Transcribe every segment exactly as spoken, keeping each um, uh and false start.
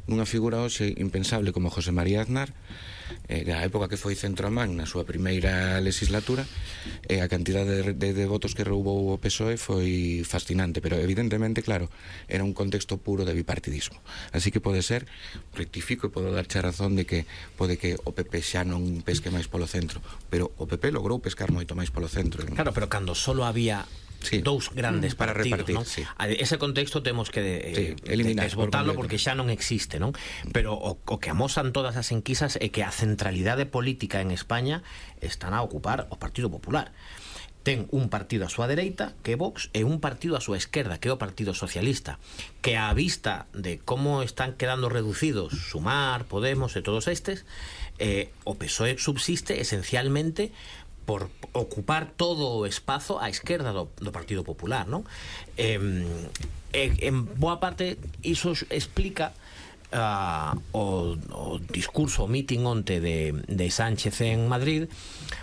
nunha figura hoxe impensable como José María Aznar, eh, da época que foi centroamán na súa primeira legislatura, e a cantidade de, de, de votos que roubou o P S O E foi fascinante, pero evidentemente, claro, era un contexto puro de bipartidismo. Así que pode ser, rectifico e podo darche a razón de que pode que o P P xa non pesque máis polo centro, pero o P P logrou pescar moito máis polo centro. Claro, pero cando solo había sí, dous grandes para partidos, repartir, ¿no? Sí. Ese contexto temos que eh, sí, eliminar, desbotarlo por porque xa non existe, non? Pero o, o que amosan todas as enquisas é que a centralidade política en España están a ocupar o Partido Popular. Ten un partido a súa dereita, que é Vox, e un partido a súa esquerda, que é o Partido Socialista, que á vista de como están quedando reducidos Sumar, Podemos e todos estes, eh, o P S O E subsiste esencialmente por ocupar todo o espazo á esquerda do, do Partido Popular, non? Eh, eh, en boa parte iso explica uh, o, o discurso, o meeting onte de, de Sánchez en Madrid,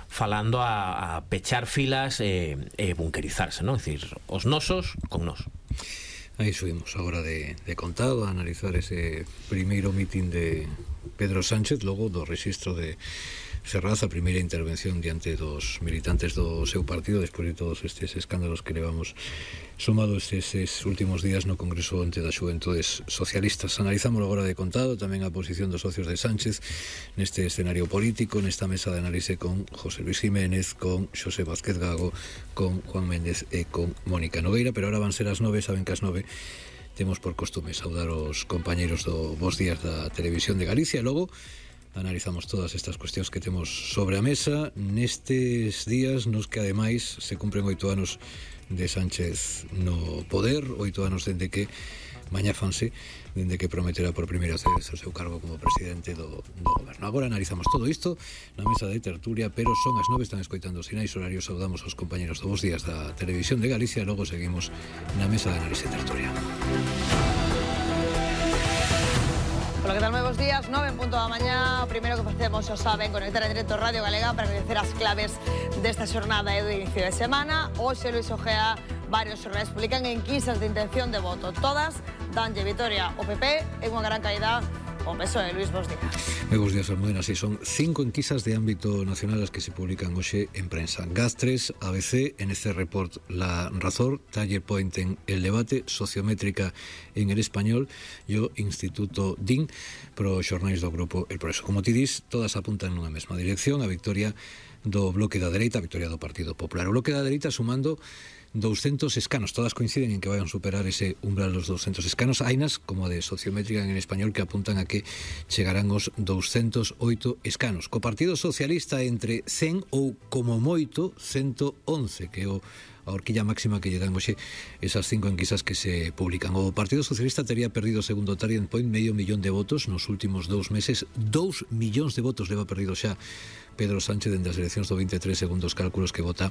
falando a, a pechar filas e, e bunkerizarse, non? É dicir, os nosos con nos. Aí subimos a hora de, de contado a analizar ese primeiro meeting de Pedro Sánchez, logo do rexistro de Ferraz, a primeira intervención diante dos militantes do seu partido despois de todos estes escándalos que levamos sumados estes últimos días no Congreso ante das Xuventudes Socialistas. Analizamos agora de contado tamén a posición dos socios de Sánchez neste escenario político, nesta mesa de análise con José Luis Jiménez, con Xosé Vázquez Gago, con Juan Méndez e con Mónica Nogueira. Pero ahora van ser as nove, saben que as nove temos por costume saudar os compañeiros do Bos Días da Televisión de Galicia e logo analizamos todas estas cuestións que temos sobre a mesa nestes días nos que ademais se cumpren oito anos de Sánchez no poder, oito anos dende que mañá fanse, dende que prometera por primeira vez o seu cargo como presidente do, do goberno. Agora analizamos todo isto na mesa de tertulia, pero son as nove, están escoitando os sinais horarios. Saudamos aos compañeros do Bos Días da Televisión de Galicia e logo seguimos na mesa de análise tertulia. Hola, que tal? Moi bons días, nove en punto da mañá. O primeiro que facemos, xa saben, conectar en directo Radio Galega para coñecer as claves desta xornada e do inicio de semana. Hoxe Luis Ojea, varios xornais publican enquisas de intención de voto. Todas danlle vitoria ao P P en unha gran caída o P S O E. Luis, bons días. Moi bons días, Almudena. Si son cinco enquisas de ámbito nacional as que se publican hoxe en prensa. Gaz tres, A B C, N C Report, La Razón, Taller Point en El Debate, Sociométrica en El Español e o Instituto D I N pro xornais do grupo El Progreso. Como ti dis, todas apuntan nunha mesma dirección, a victoria do bloque da dereita, a victoria do Partido Popular. O bloque da dereita sumando douscentos escanos, todas coinciden en que vayan superar ese umbral dos douscentos escanos. Hainas, como a de Sociométrica en El Español, que apuntan a que chegarán os douscentos oito escanos. Co Partido Socialista entre cen ou, como moito, ciento once, que é o a horquilla máxima que lle dan hoxe esas cinco enquisas que se publican. O Partido Socialista tería perdido, segundo Target Point, medio millón de votos nos últimos dous meses. Dous millóns de votos leva perdido xa Pedro Sánchez dende as eleccións do veintitrés, segundo os cálculos que vota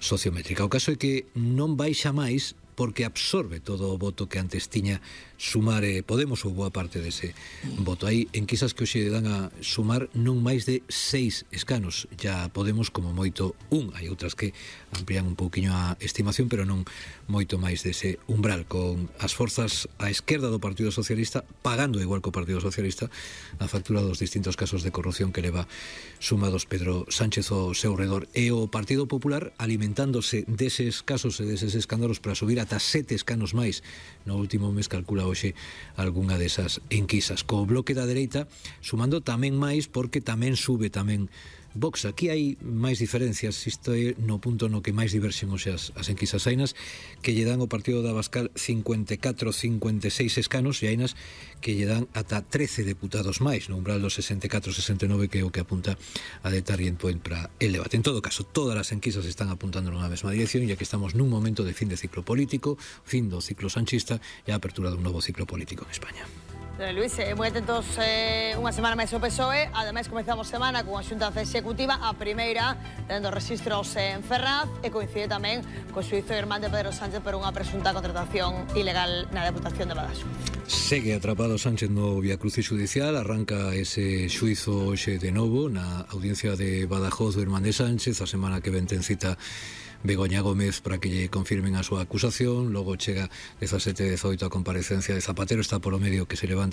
Sociométrica. O caso é que non baixa máis porque absorbe todo o voto que antes tiña Sumar e Podemos, ou boa parte dese voto. Hai enquisas que hoxe dan a Sumar non máis de seis escanos, ya Podemos como moito un. Hai outras que amplían un pouquiño a estimación, pero non moito máis dese umbral, con as forzas á esquerda do Partido Socialista pagando igual que o Partido Socialista a factura dos distintos casos de corrupción que leva sumados Pedro Sánchez ao seu redor, e o Partido Popular alimentándose deses casos e deses escándalos para subir ata sete escanos máis no último mes, calcula hoxe algunha desas enquisas. Co bloque da dereita sumando tamén máis, porque tamén sube tamén Vox. Aquí hai máis diferencias, isto é no punto no que máis diverxen hoxe as, as enquisas. Hainas que lle dan ao Partido de Abascal cincuenta e catro, cincuenta e seis escanos, e hainas que lle dan ata trece deputados máis, no umbral dos sesenta e catro, sesenta e nove, que é o que apunta a de Target Point para El Debate. En todo caso, todas as enquisas están apuntando nunha mesma dirección, ya que estamos nun momento de fin de ciclo político, fin do ciclo sanchista e a apertura dun novo ciclo político en España. Luis, eh, moi atentos, eh, unha semana máis o P S O E. Ademais, comezamos semana con a xunta executiva, a primeira tendo registros en Ferraz, e coincide tamén co xuízo irmán de Pedro Sánchez por unha presunta contratación ilegal na Deputación de Badaxo. Segue atrapado Sánchez no viacrucis judicial, arranca ese xuízo hoxe de novo na audiencia de Badajoz do irmán de Sánchez. A semana que ven ten cita Begoña Gómez para que lle confirmen a súa acusación, logo chega dezasete e dezoito a comparecencia de Zapatero, está polo medio que se levante